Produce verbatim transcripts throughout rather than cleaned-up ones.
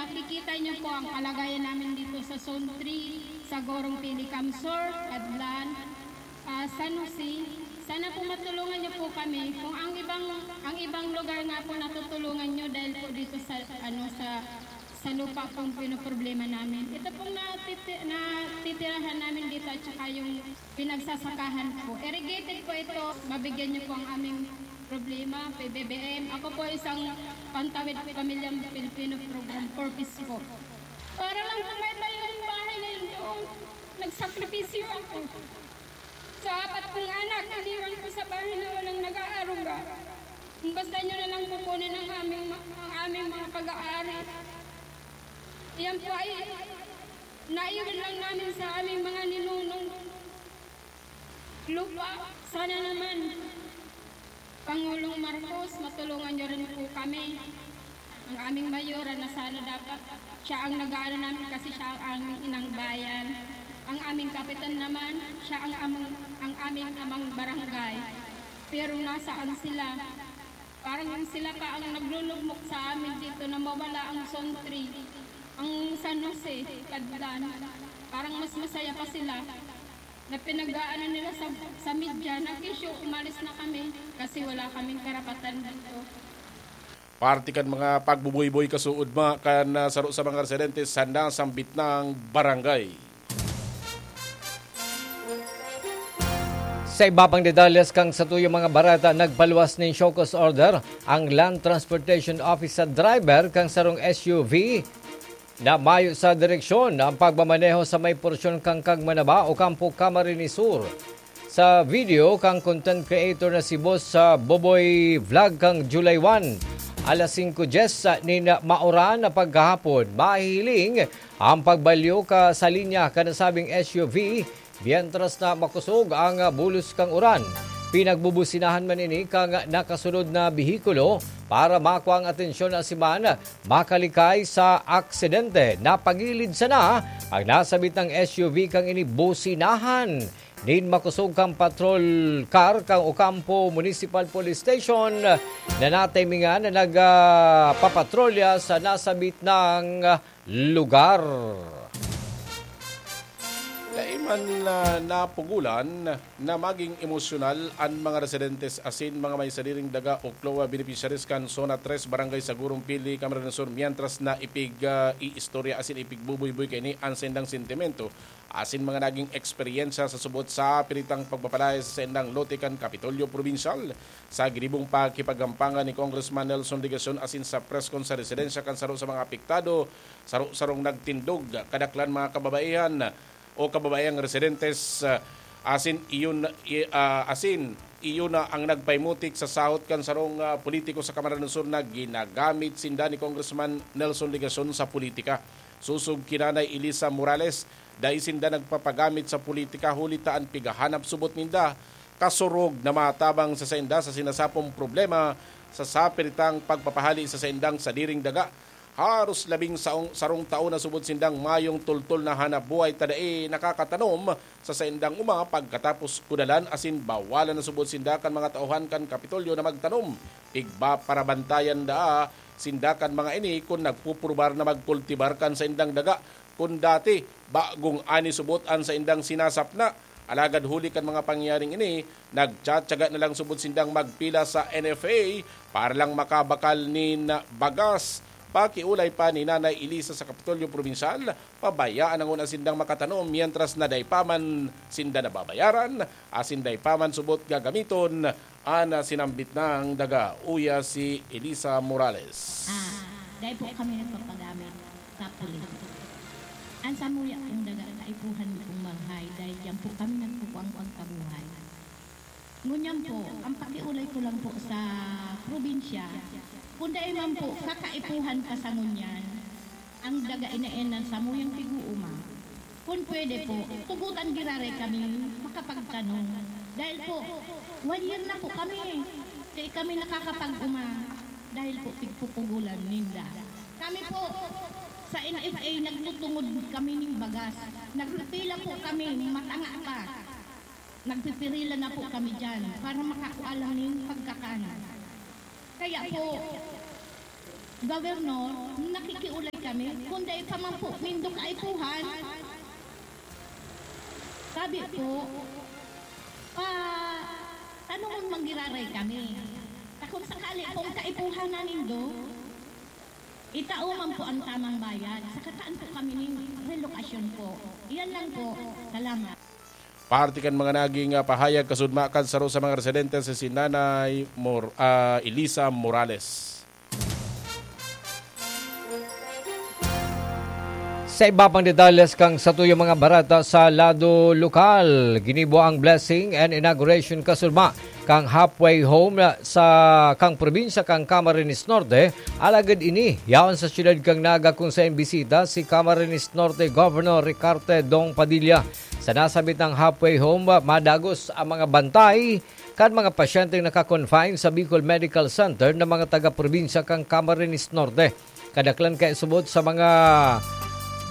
Nakikita niyo po ang kalagayan namin dito sa Zone three, sa Gorong Pili, Camsor, Cadlan, ah, San Jose. Sana po matulungan niyo po kami. Kung ang ibang, ang ibang lugar nga po natutulungan niyo dahil po dito sa, ano, sa, sa lupa pong pinoproblema namin. Ito pong natiti-, natitirahan namin dito at saka yung pinagsasakahan po. Irrigated po ito. Mabigyan niyo po ang aming problema, P B B M. Ako po isang pantawid pamilyang Pilipino program, four Ps po. Para lang po may tayo ng bahay na yun doon. Nagsakripisyo ako. Sa apat kong anak, iniwan ko sa bahay na walang nag-aaruga. Kung basta nyo na lang kukunin ang aming, ma-, ang aming mga pag-aari. Yan po ay naiwan lang namin sa aming mga ninunong lupa. Sana naman, Pangulong Marcos, matulungan niyo rin po kami. Ang aming mayora na sana dapat siya ang nag-aano namin kasi siya ang aming inang bayan. Ang aming kapitan naman, siya ang amang, ang aming amang barangay. Pero nasaan sila? Parang sila pa ang naglulugmok sa amin dito na mawala ang Zone three, ang San Jose, Cadlan. Parang mas masaya pa sila na pinag-aano nila sa, sa media na, "Kesyo, umalis na kami kasi wala kaming karapatan dito." Parte kan mga pagbubuyboy kasuodma kan, ah, saro sa mga residente sa nasambit nang barangay. Sa iba pang detalles kan satuyang mga bareta, nagpaluwas nin show cause order ang Land Transportation Office sa driver kan sarong S U V na mayo sa direksyon ang pagmamaneho sa may porsyon kan Kagmanaba, Ocampo, Camarines Sur. Sa video kan content creator na si Boss, ah, Boboy Vlog kan July one, alas singko dyes nin mauran na paghahapon, mahihiling ang pagbalyo ka sa linya kan nasabing S U V, mientras na makosog ang, ah, bulos kan uran. Pinagbubusinahan man ini kan nakasunod na behikulo para makua ang atensyon asin man makalikay sa aksidente. Napagilid sana ang nasabit nang S U V kan ini businahan nin makosog kan patrol car kan Ocampo Municipal Police Station na natimingan na nag, ah, papatrolya sa nasabit nang lugar. Dai man, ah, napugulan na magin emosyonal an mga residentes asin mga may sadiring daga o CLOA beneficiaries kan Zona tres, Barangay Sagurong Pili, Camarines Sur, mientras na ipig, ah, iistorya asin ipigbubuyboy kaini an saindang sentimento asin mga nagin eksperyensya sa subot sa piritang pagpapalaya sa saindang lote kan Kapitolyo Probinsyal. Sa ginibong pakikipaggampangan ni Congressman Nelson Legacion asin sa press con sa residensya kan saro sa mga apektado, saro-sarong nagtindog, kadaklan mga kababaihan o kababaihang residentes, ah, asin iyon, i-, ah, asin iyo na ang nagpaimutik sa sahot kan sarong, ah, politiko sa Camarines Sur na ginagamit sinda ni Congressman Nelson Legacion sa politika. Sosog ki Nanay Elisa Morales, dai sinda nagpapagamit sa politika huli ta an pighahanap subot ninda kasurog na matabang sa sainda sa sinasapong problema sa sapiritang pagpapahali sa saindang sadiring daga. Haros labing saong, sarong taon na subot sindang mayong tultol na hanap buhay ta dai nakakatanom sa saindang uma pagkatapos kudalan asin bawalan na subot sinda kan mga tauhan kan Kapitolyo na magtanom. Igba parabantayan daa sinda kan mga ini kun nagpupurubar na magkultibar kan saindang daga. Kun dati, bagong ani subot an saindang sinasapna. Alagad huli kan mga pangyayaring ini, nagtsatsaga na lang subot sindang magpila sa N F A para lang makabakal nin bagas. Pakiolay pa ni Nanay Elisa sa Kapitolyo Probinsyal, pabayaan na ngona sindang makatanom mientras na dai pa man sinda nababayaran, asin dai pa man subot gagamiton an sinambit nang daga. Uya si Elisa Morales. Ah, dai po kami nagpapagamit sa politika. An samuya pong daga kaipuhan mi pong manghay dahil diyan po kami nagkukuang pagkabuhay. Ngunyan po, ang pakiolay ko lang po sa probinsya, kung dai man po kakaipuhan pa sa ngunyan, ang daga inaen ng samuyang pig-uuma, kung pwede po, tugotan giraray kami makapagtanom. Dahil po, one year na po kami, dai kami nakakapag-uma dahil po pigpupugulan ninda. Kami po, sa N F A, nagtutungod kami ning bagas. Nagpipila po kami, matanga pa. Nagpipirila na po kami diyan para makakua lang ning pagkakan. Kaya po, Governor, nakikiulay kami, kung dai pa man po nindo kaipuhan, sabi po, pa, tanungon man giraray kami. Ta kung sakali pong kaipuhan na nindo, itao man po ang tamang bayad. Sa kataan po kami ning relokasyon po. Iyan lang po. Salamat. Parte kan mga naging, ah, pahayag kasudma kan saro sa mga residente si, si Nanay Mor-, ah, Elisa Morales. Sa iba pang detalles kan satuyang mga bareta sa lado lokal, ginibo ang blessing and inauguration kasudma kan halfway home sa kan probinsya kan Camarines Norte, alagad ini yaon sa siyudad kan Naga kung saen bisita si Camarines Norte Governor Ricarte Dong Padilla. Sa nasabit na halfway home, madagos ang mga bantay kan mga pasyenteng naka-confine sa Bicol Medical Center na mga taga-probinsya kan Camarines Norte. Kadaklan kaya subot sa mga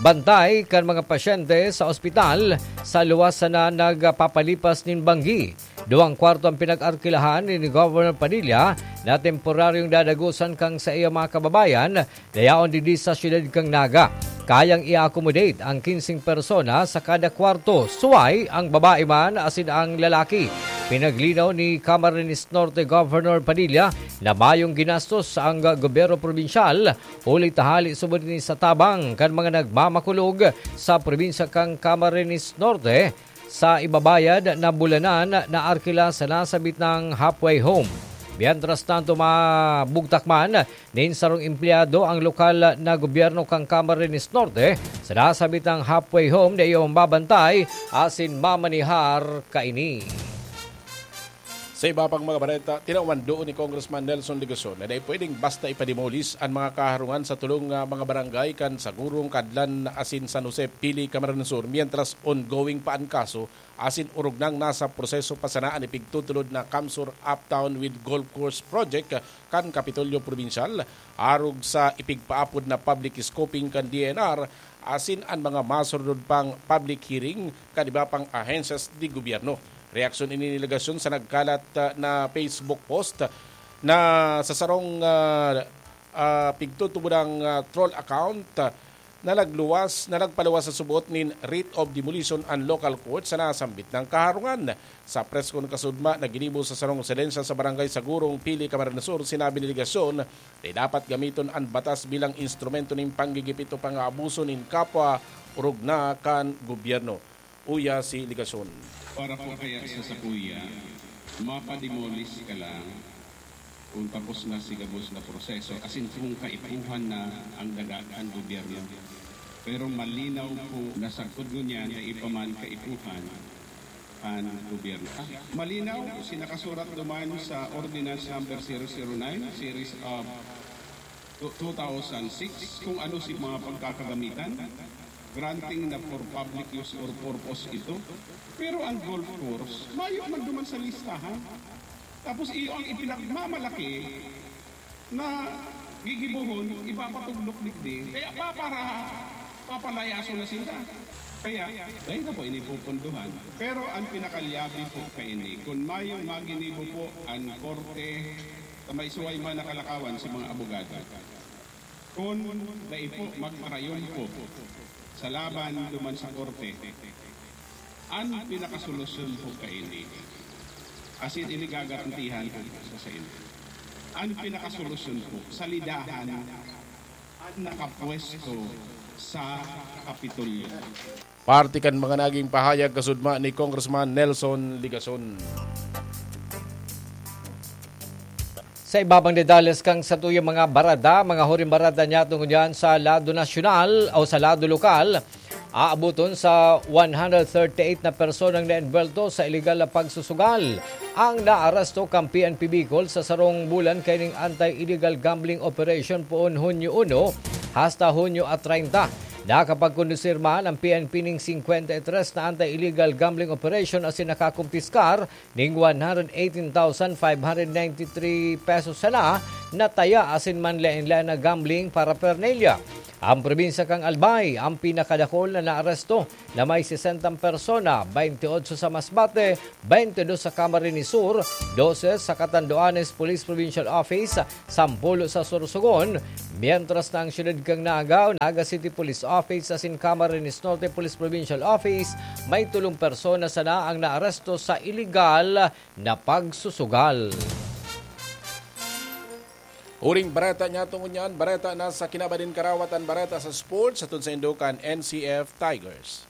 bantay kan mga pasyente sa ospital sa luwas sana nagpapalipas nin banggi. Duwang kwarto ang pinag-arkilahan ni Governor Padilla na temporaryong dadagosan kan saiyang mga kababayan na yaon digdi sa siyudad kan Naga. Kayang i-accommodate ang kinseng persona sa kada kwarto, suway ang babae man asin ang lalaki. Pinaglinaw ni Camarines Norte Governor Padilla na mayong ginastos ang gobyerno probinsyal, huli ta hali subot ini sa tabang kan mga nagmamakulog sa probinsya kan Camarines Norte sa ibabayad na bulanan na arkila sa nasabit na halfway home. Mientras tanto, mabugtak man nin sarong empleyado ang lokal na gobyerno kan Camarines Norte sa nasabit na halfway home na iyong babantay asin mamanihar kaini. Sa iba pang mga bareta, tinawan doon ni Congressman Nelson Legacion na dai pwedeng basta ipademolis an mga kaharungan sa tulong nga mga barangay kan Sagurong, Cadlan asin San Jose, Pili, Camarines Sur, mientras ongoing pa an kaso asin orog nang nasa proseso pa sana an ipigtutulod na CamSur Uptown with Golf Course Project kan Kapitolyo Probinsyal, arog sa ipigpaapod na public scoping kan D E N R asin an mga masurnod pang public hearing kan iba pang ahensyas de gobyerno. Reaksyon ini ni Legacion sa nagkalat, ah, na Facebook post na sa sarong, ah, ah, pigtutubodang, ah, troll account, ah, na nagluwas, na nagpaluwas sa subot nin writ of demolition an local court sa nasambit na kaharungan. Sa press con kasudma na ginibo sa sarong residensya sa Barangay Sagurong, Pili, Camarines Sur, sinabi ni Legacion na dapat gamiton an batas bilang instrumento nin panggigipit o pang-aabuso nin kapwa orog na kan gobyerno. Uya si Legacion. Para po kaya sa sakuya, mapademolis ka lang kung tapos na si gabos na proseso, asin kung kaipuhan na ang daga kan gobyerno. Pero malinaw po na sagkod ngunyan na ipaman kaipuhan an gobyerno. Ah, malinaw, sinakasurat duman sa Ordinance Number zero zero nine, Series of two thousand six, kung ano si mga pagkakagamitan, granting na for public use or purpose ito. Pero ang golf course, mayo man duman sa listahan. Tapos iyo ang ipinagmamalaki na gigibohon, ipapatugdok digdi. Kaya papara-, papalayason na sinda. Kaya, dai na po ini pupunduhan. Pero ang pinakalyabe po kaini, kung mayong maginibo po ang korte, sa may suway man nakalakawan sa mga abogado. Kung dai po magparayon po sa laban duman sa korte, ang pinakasolusyon po kaini, asin ini gagarantihan ko po sa, sa inyo. Ang pinakasolusyon po, salidahan ang nakapwesto sa Kapitolyo. Parte kan mga naging pahayag kasudma ni Congressman Nelson Legacion. Sa iba pang detalles kan satuyang mga barada, mga huring barada niya tungod yan sa lado nasyonal o sa lado lokal, aaboton sa one hundred thirty-eight na personang naenvuelto sa iligal na pagsusugal ang naaresto kan P N P Bicol sa sarong bulan kaining anti-illegal gambling operation poon Hunyo uno hasta Hunyo a treinta. Nakapagkondusir man ang P N P ning singkwenta y tres na anti-illegal gambling operation asin nakakumpiskar ning one hundred eighteen thousand five hundred ninety-three pesos sana na taya asin manlaen-laen na gambling paraphernalia. Ang probinsya kan Albay ang pinakadakol na naaresto na may sesentang persona, baynte otso sa Masbate, baynte dos sa Camarines Sur, dose sa Catanduanes Police Provincial Office, sampulo sa Sorsogon, Mientras na ang siyudad kan Naga, Naga City Police Office asin Camarines Norte Police Provincial Office, may tolong persona sana ang naaresto sa iligal na pagsusugal. Huring bareta niya tungod niyan, bareta na sa kinabaning karawatan, bareta sa sports, hatod saindo kan N C F Tigers.